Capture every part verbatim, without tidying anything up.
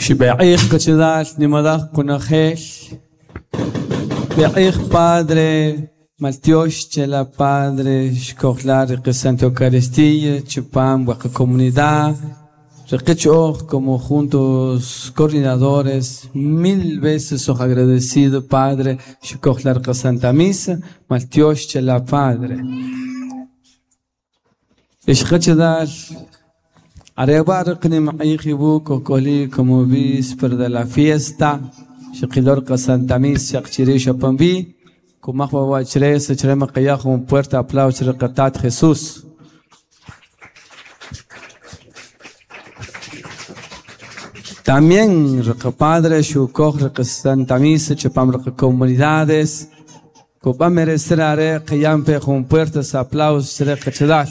Xib'eq'iij qachalaal nimalaj qunajel B'eq'iij Padre Maltiox chela Padre xkojlar riqi Santa Eucaristía chupam waqa comunidad Riqich'oj como juntos coordinadores mil veces oj agradecido Padre xkojlar qa Santa Misa Maltiox chela Padre Ixqachadal Areba riqni maq'iij iwuk ojk'oli como víspera de la fiesta xiqilor qa Santa Misa xaqchiri xapanbi kumaj wawachre sachrem maqayaj un fuerte aplauso riqatat Jesús. También riqa Padre xukoj riqa Santa Misa chupam riqa comunidades kub'a merecer are qiyampe un fuerte aplauso riqachadal.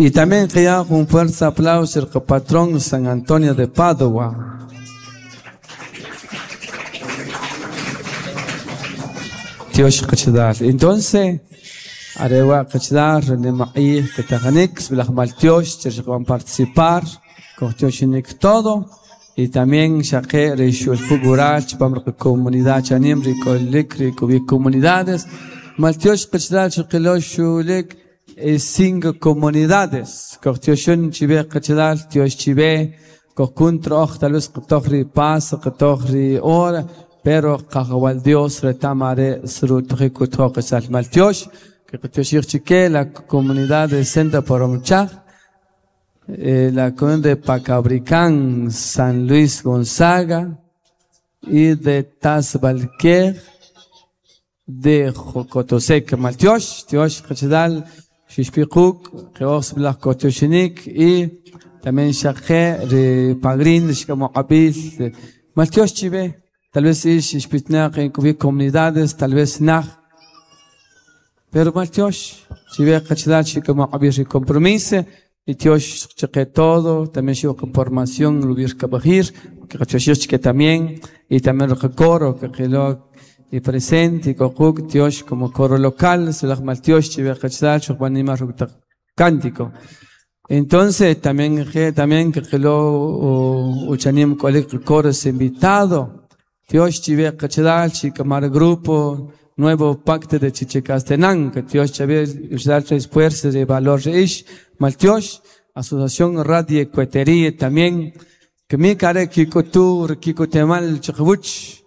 Y también que un fuerte aplauso al patrón San Antonio de Padua. Dios qachadal. Entonces, arewa qachadal, René Ketajanik, Bilaj Maltiosh, van participar, con Dios todo. Y también Shaqe, Rishul Pugural, Chipam comunidad Chanim, Ricolik, Ricobi comunidades. Maltiosh qachadal, Shiqilosh, Shulik, cinco comunidades. Cortioshun chibe qachadal, tiosh chibe, cocuntro och, tal vez qtochri pas, qtochri ora, pero qajawal Dios retamare srutriku toqesal maltiosh, que qtioshir chique, la comunidad de Senda Poromchaj, eh, la comunidad de Pacabricán, San Luis Gonzaga, y de Tazbalquer, de Jocotosec, Maltiosh, tiosh qachadal, Xixpiquk, Qeos Blaj Kotoshinik y también Shaqe, Pagrin, Xcamoqabil, Maltiosh Chibe, tal vez Ish, Xpitnaq, en comunidades, tal vez Naj, pero Maltiosh, Chibe, Qachdal, Xcamoqabil, compromiso, y Tiosh Cheque todo, también Xico formación, Lubir Kabajir, que que también, y también el coro, que quedó y presente, y Kokuk, Tiosh como coro local, Selach Maltiosh, Chibe Qachdal, Xukbanima cántico. Entonces, también, también que lo uchanim coleg coros invitado. Tiosh Chibe Qachdal, Chikamar grupo, nuevo pacto de Chichicastenango, que Tiosh Chibe usar tres fuerzas de valor ish, Maltiosh, Asociación Radio Cuetería también, que mi care kikotur, kikotemal, chikwuch,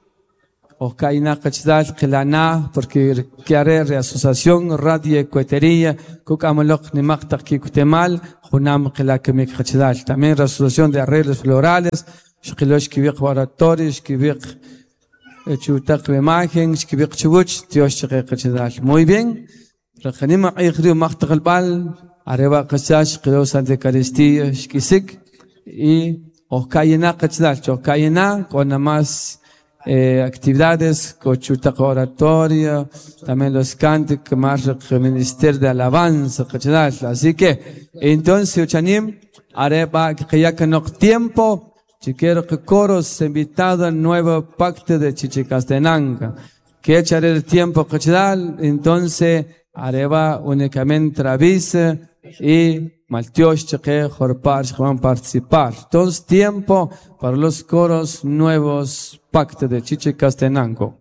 o kaina qachdal qilana, porque quiere asociación Radio Cuetería, kukamalok nimakta kikotemal, junam qilakimik qachdal. También la asociación de arreglos florales, xqilosh kibiq oratorios, kibiq chutaq imagen, kibiq chubuch, Dios qachdal. Muy bien. Raqanima ikhri maqtaqal areba qachash qilo Santa Eucaristía, xkisik y okayena qachdal, okayena con más Eh, actividades, cochuta oratoria, también los cánticos, más ministerio de alabanza, así que, entonces, uchanim, areba, que ya que no tiempo, si quiero que coros invitado al nuevo pacto de Chichicastenango, que echaré el tiempo, entonces, areba únicamente avisa y Maltiosh, Cheque, Jorpar, van a participar. Entonces, tiempo para los coros nuevos pacto de Chichicastenango.